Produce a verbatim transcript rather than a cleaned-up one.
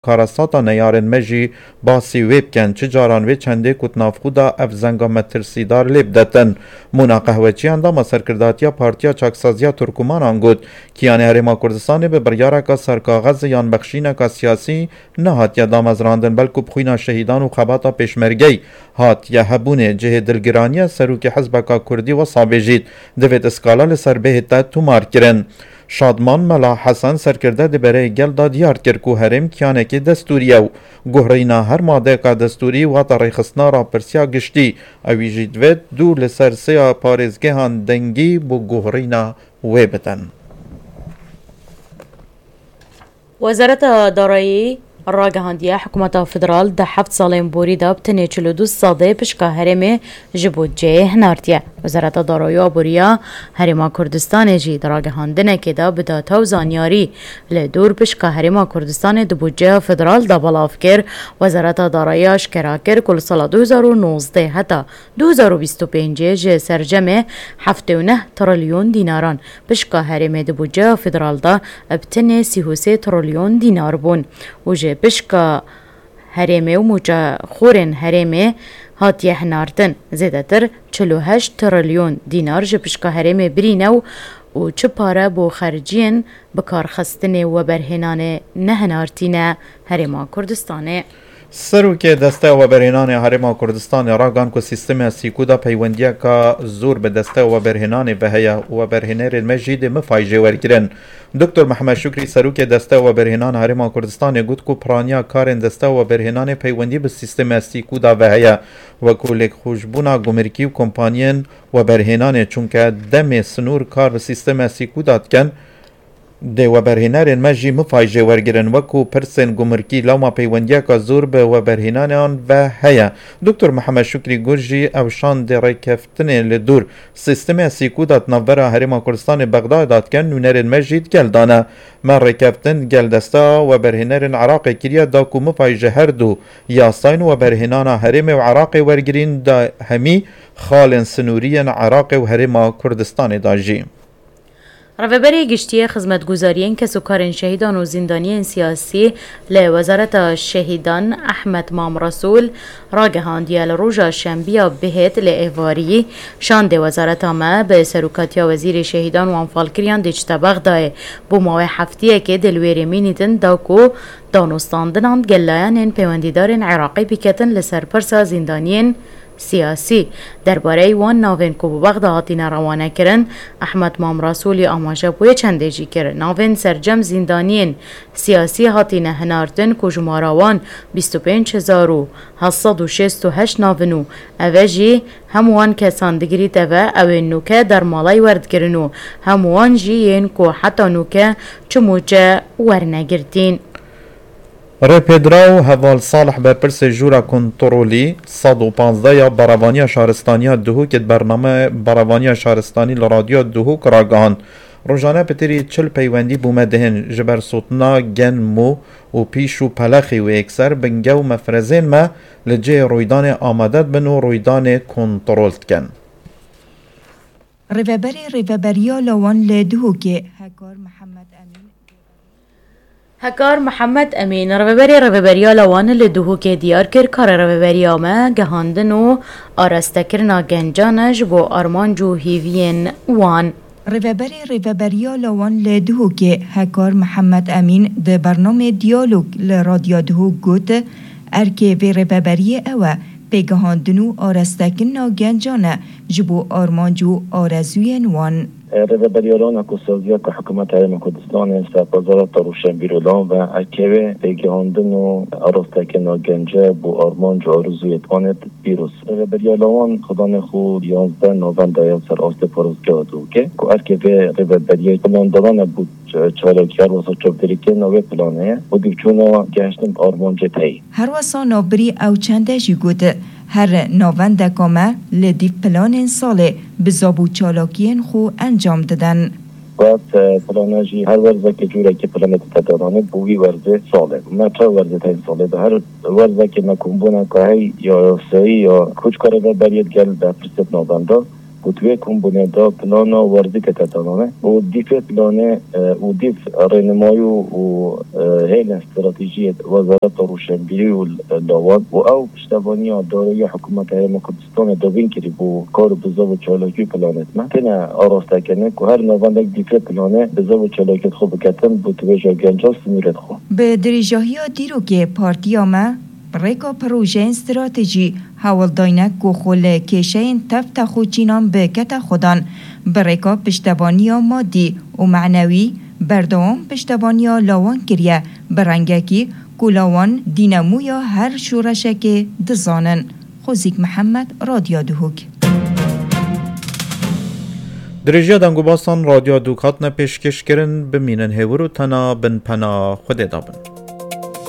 karasata neyarên me jî basî wê bikin. Çi caran wê çendê ku di nav xwe de ev zenga metirsîdar lê bidetin. Mûna Qehweçî endama serkirdatiya Partiya Çaksaziya Turkumanan got, Kiyanê Herêma Kurdistanê bi biryareka serkaxez yan bexşîneka siyasî nehatiye damezrandin, belku bi xwîna şehîdan û xebata pêşmergeyî hatiye hebûnê. Cihê dilgiraniye serokê hizbeka kurdî wesa bêjît, divêt skala li ser bihête tomarkirin. Şadman Mela Hesen serkirde di bereyê gel de diyar kir ku herêm kiyanekî destûrî ye û guhrîna her madeyeka destûrî wate rêxistina rapirsiya giştî. Ewî jî divêt dû li ser sêya parêzgehan dengî bo guhrîna wê bidin. Wezareta Darayî ragihandiye, hikûmeta federal di heft salên borî de bi tenê çil û du sedê pişka herêmê ji budceyê hinartiye. Wezareta Darayî û Aboriya Herêma Kurdistanê jî di ragihandinekê de bi data û zanyarî li dûr pişka Herêma Kurdistanê di budceya federal de belav kir. Wezareta Darayî aşkera kir ku li sala du hezar û nozdeh heta du hezar û bîst û pêncê ji sercemê heftê û neh trilyon dînaran pişka herêmê di budceya federal de bi tenê sî û sê trilyon dînar bûn û ji pişka herêmê û mûçexorên herêmê hatiye hinartin. Zêdetir çil û heşt trilyon dînar ji pişka herêmê birîne û, û çi pare bo xerciyên bikarxistinê û weberhênanê nehinartîne Herêma Kurdistanê. Serokê Desteya Weberhênanê Herêma Kurdistanê ragan ku sîstemê Sîkû de peywendiyeka zor bi Desteya Weberhênanê ve heye û weberhênerên me jî dê mifay jê wergirin. Doktor Mihemed Şukrî, serokê Desteya Weberhênan Herêma Kurdistanê got ku piraniya karên Desteya Weberhênanê peywendî bi sîstemê Sîkû de ve heye, wekû lêkxweşbûna gumirkî û kompaniyên weberhênanê, çunke demê sinûr kar bi sîstemê Sîkû de dikin, dê weberhênerên me jî mifay jê wergirin, wekû pirsên gumirkî lewma peywendiyeka zor bi weberhênanan ve heye. Doktor Mihemed Şukrî got jî ew şandê rêkeftinê li dûr sîstemê Sîkû de di navbera Herêma Kurdistanê Bexdayê de dikin, nûnerên me jî di gel de ne. Me rêkeftin di gel desteya weberhênerên Iraqê kiriye da ku mifay ji her du yasayên weberhênana herêmê û Iraqê wergirîn da hemî xalên sinûrî yên Iraqê û Herêma Kurdistanê de jî. Rêveberê Giştî yê Xizmetguzariyên Kesûkarên Şehîdan û Zîndaniyên Siyasî li Wezareta Şehîdan Ehmed Mam Resûl ragihandiye, li roja şembiya bihêt li êvarî şandê wezareta me bi serokatiya Wezîrê Şehîdan û Anfalkiriyan dê çite Bexdayê. Bo mawê heftiyekê dê li wê rê mînîtin da ku danûstandinan gel layanên peywendîdarên Iraqê biketin li ser pirsa zîndaniyên siyasî. Derbareyî wan navên ku bi Bexda hatine rewanekirin, Ehmed Mam Rasolî amaje bi wê çendê jî kir. Navên sercem zîndaniyên siyasî hatine hinartin ku jumara wan bîst û pênc hezar û heft sed û şêst û heşt navin û eve jî hem wan kesan digirîte ve ew ên nûke dermalay werdigirin û hem wan jî yên ku heta nûke çi mûçe wernegirtîn. Rêpêdiraw Heval Salih berpirsê Jûra Kontrolî sed û panzdeh ya Berevaniya Şaristaniya Duhokê di bername Berevaniya Şaristanî li Radyoya Duhok ragihand, Rojane pitirî çil peywendî bo me dihên ji ber sotina gen, mo û pîş û pelexî û yekser binge û mefrezên me li cihê rûydanê amade dibin û rûydanê kontrol dikin. Rêveberê Rêveberiya Lawan li Duhokê Hekar Mihemed Emîn. Hekar Mihemed Emîn, Rêveberê Rêveberiya Lawan li Duhokê diyar kir, karê Rêveberiya me gehandin û arestekirina gencan e ji bo armanc û hêviyên wan. Rêveberê Rêveberiya Lawan li Duhokê Hekar Mihemed Emîn di bernamê Diyalog li Radya Duhok got, erkê vê rêveberiyê ew e, pêgehandin û arestekirina gencan e ji bo armanc û arezûyên wan. Rêveberiya Lawan a ku saziyeta Hikûmeta Herêma Kurdistanê ser Wezareta Rewşenbîrolan ve, erkê wê pêgehandin û arestekirina gencan bo armanc û arezûyên wan e. Pîroz. Rêveberiya Lawan xidanê xwe yanzdeh November ya ser astê parêzgeha Duhokê ku erkê vê rêveberiyê plandaran e bo ç-, çalakiyar wesa çavdêrîkirina wê planê ye û dîvçûna gehiştin bi armancê teyî. Her wesa navbirî ew çende jî got, her navendeka me li dîv planên salê bi zab û çalakiyên xwe encam didin. Got, e, plana jî her werzekê cûrekî planê dite dananê bo wî werzê salê. Me çar werzê teyîn salê de her werzekê me kombûneka hey ya yasayî ya koçka rêveberiyê digel berpirsê di navenda. Got wê kombûne da plana warzî kete danane û dîfê planê, e, û dîf rênimayî û, û, e, hêlên stratejiyê Wezareta Rûşenbîrî û l-, lawan û ew piştevaniya dareya Hikûmeta Herêma Kurdistanê dovîn kirî bo kar û bizav û çalakî planê me. Têne araste kirin ku her navendek dîfê planê bizav û çalakiyê xwe biketin bo tibêja gencan sînorê xwe. Bi dirêjahiya dîrokê partiya me bi rêka projeyên stratejî hewl dayne ku xwe li kêşeyên tev texûçînan bikete xwedan, bi rêka piştevaniya madî û manewî berdewam piştevaniya lawan kiriye, bi rengekî ku lawan dînamoya her şoreşekê dizanin. Xozîk Mihemed, Radyo Duhok. Dirêjiya deng û basan Radyo Duhok hatine pêşkêşkirin, bimînin hêwir û tena bin pena Xwedê de bin.